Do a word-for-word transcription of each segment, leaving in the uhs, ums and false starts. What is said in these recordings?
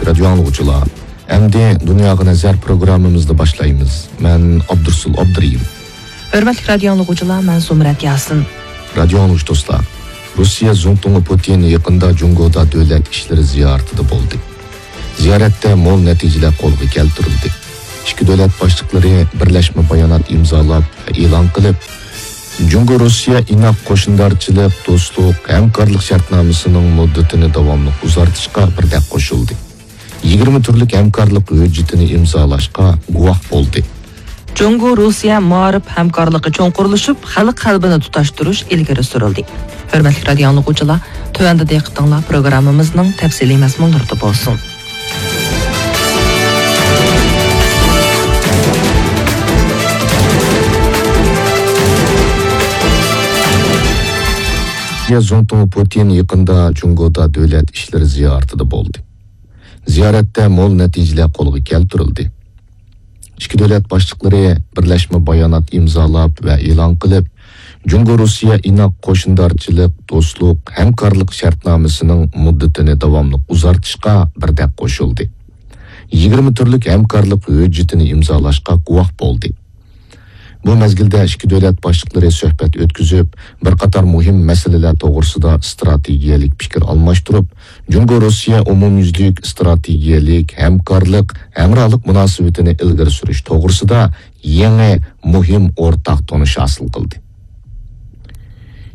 رادىيو ئاڭلىغۇچىلار، ئەمدى دۇنياغا نەزەر پروگراممىمىزنى باشلايمىز. مەن ئابدۇرسۇل ئابدۇرېھىم. ھۆرمەتلىك رادىيو ئاڭلىغۇچىلار، مەن زۇمرەت ياسىن. رادىيو ئاڭلىغۇچى دوستلار، روسىيە زۇڭتۇڭى پۇتىن يېقىندا جۇڭگودا دۆلەت ئىشلىرى زىيارىتىدە بولدى. زىيارەتتە مول نەتىجىلەر قولغا كەلتۈرۈلدى. ئىككى دۆلەت باشلىقلىرى بىرلەشمە بايانات ئىمزالاپ ۋە ئېلان قىلىپ، جۇڭگو روسىيە ئىناق قوشنىدارچىلىق، دوستلۇق، ھەمكارلىق شەرتنامىسىنىڭ مۇددىتىنى داۋاملىق ئۇزارتىشقا بىردەك قوشۇلدى. يىگىرمە تۈرلۈك ھەمكارلىق ھۆججىتىنى ئىمزالاشقا گۇۋاھ بولدى. جۇڭگو روسىيە مائارىپ ھەمكارلىقى چوڭقۇرلىشىپ، خەلق قەلبىنى تۇتاشتۇرۇش ئىلگىرى سۈرۈلدى. ھۆرمەتلىك رادىيو ئاڭلىغۇچىلار، تۆۋەندە دىققىتىڭلار پروگراممىمىزنىڭ تەپسىلىي مەزمۇنلىرىدا بولسۇن. روسىيە زۇڭتۇڭى پۇتىن يېقىندا جۇڭگودا دۆلەت ئىشلىرى زىيارىتىدە بولدى. زىيارەتتە مول نەتىجىلەر قولغا كەلتۈرۈلدى. ئىككى دۆلەت باشلىقلىرى بىرلەشمە بايانات ئىمزالاپ ۋە ئېلان قىلىپ، جۇڭگو روسىيە ئىناق قوشنىدارچىلىق، دوستلۇق، ھەمكارلىق شەرتنامىسىنىڭ مۇددىتىنى داۋاملىق ئۇزارتىشقا بىردەك قوشۇلدى. يىگىرمە تۈرلۈك ھەمكارلىق ھۆججىتىنى ئىمزالاشقا گۇۋاھ بولدى. بۇ مەزگىلدە ئىككى دۆلەت باشلىقلىرى سۆھبەت ئۆتكۈزۈپ، بىر قاتار مۇھىم مەسىلىلەر توغرىسىدا ئىستراتېگىيەلىك پىكىر ئالماشتۇرۇپ، جۇڭگو روسىيە ئومۇميۈزلۈك ئىستراتېگىيەلىك ھەمكارلىق، ھەمراھلىق مۇناسىۋىتىنى ئىلگىرى سۈرۈش توغرىسىدا يېڭى مۇھىم ئورتاق تونۇش ھاسىل قىلدى.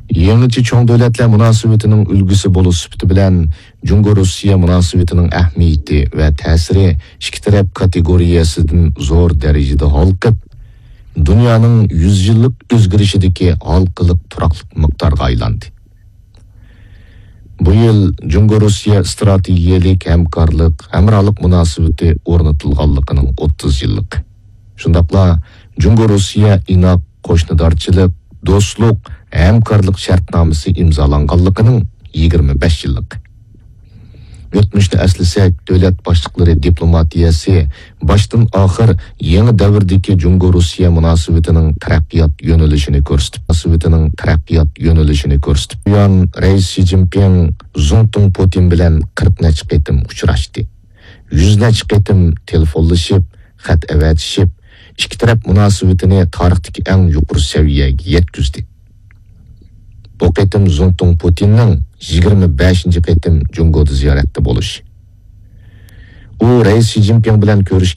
يېڭىچە چوڭ دۆلەتلەر مۇناسىۋىتىنىڭ ئۈلگىسى بولۇش سۈپىتى بىلەن، جۇڭگو روسىيە مۇناسىۋىتىنىڭ ئەھمىيىتى ۋە تەسىرى ئىككى تەرەپ كاتېگورىيەسىدىن زور دەرىجىدە ھالقىپ، دۇنيانىڭ يۈز يىللىق ئۆزگىرىشىدىكى ھالقىلىق تۇراقلىق مىقدارغا ئايلاندى. بۇ يىل جۇڭگو روسىيە ئىستراتېگىيەلىك ھەمكارلىق، ھەمراھلىق مۇناسىۋىتى ئورنىتىلغانلىقىنىڭ ئوتتۇز يىللىقى. شۇنداقلا جۇڭگو روسىيە ئىناق قوشنىدارچىلىق، دوستلۇق، ھەمكارلىق شەرتنامىسى ئىمزالانغانلىقىنىڭ يىگىرمە بەش يىللىقى. ئۆتمۈشنى ئەسلىسەك، دۆلەت باشلىقلىرى دىپلوماتىيەسى باشتىن ئاخىر يېڭى دەۋردىكى جۇڭگو روسىيە مۇناسىۋىتىنىڭ تەرەققىيات يۆنىلىشىنى كۆرسىتىپ، مۇناسىۋىتىنىڭ تەرەققىيات يۆنىلىشىنى كۆرسىتىپ، بۇيان رەئىس شى جىنپىڭ زۇڭتۇڭ پۇتىن بىلەن قىرىق نەچچە قېتىم ئۇچراشتى. يۈز نەچچە قېتىم تېلېفونلىشىپ، خەت ئەۋەتىشىپ، ئىككى تەرەپ مۇناسىۋىتىنى تارىختىكى ئەڭ يۇقىرى سەۋىيەگە يەتكۈزدى. بۇ قېتىم زۇڭتۇڭ پۇتىننىڭ يىگىرمە بەشىنچى قېتىم جۇڭگودا زىيارەتتە بولۇشى. ئۇ رەئىس شى جىنپىڭ بىلەن كۆرۈش